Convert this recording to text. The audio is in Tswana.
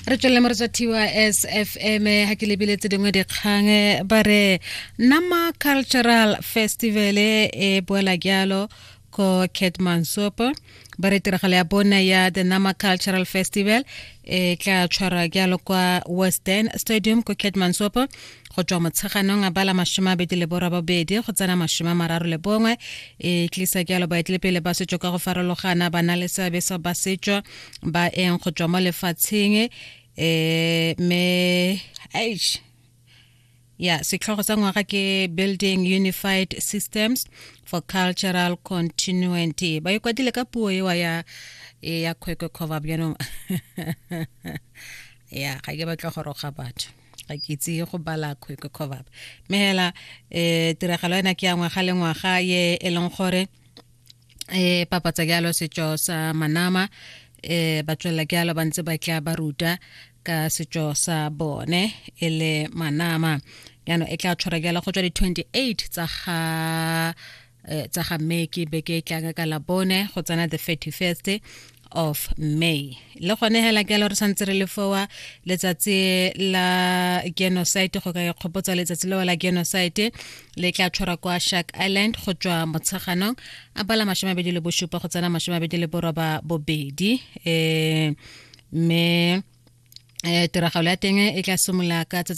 Re tswelele mo re tswa thiwa SFM. Ha ke lebile tse dingwe dikgang, ba re Nama Cultural Festival e boela jalo ko Keetmanshoop. Ba re tiragalo ya bone ya the Nama Cultural Festival e tla tshwarwa jalo kwa Western Stadium ko Keetmanshoop go tswa Motsheganong a bala 28 go tsena 31. E tlisa jalo baetelepele ba setso ka go farologana, ba na le seabe sa ba setso ba eng go tswa mo lefatsheng. Mme aish ya setlhogo sa ngwaga ke "Building Unified Systems for Cultural Continuity". Ba ikwadile ka puo ewa ya Khoekhoegowab. Jaanong ya ga ke batla go roga batho, ga ke itse go bala Khoekhoegowab, mme hela tiragalo ena ke ya ngwaga le ngwaga ye e leng gore e papatsa jalo setso sa Manama. Ba tswelela jalo ba ntse ba tla ba ruta ka setso sa bone e le Manama. Jaanong e tla tshwara jalo go tswa di-28 tsa ga May, ke beke e tlang ka la bone, go tsena the 31st of May. Le gone hela ke re santse re le fowa letsatsi la genocide, go ka ikgopotsa letsatsi leo la genocide, le tla tshwarwa kwa Shark Island go tswa Motsheganong a bala 27 go tsena 28. Mme tiragalo ya teng e tla simolola ka tsatsi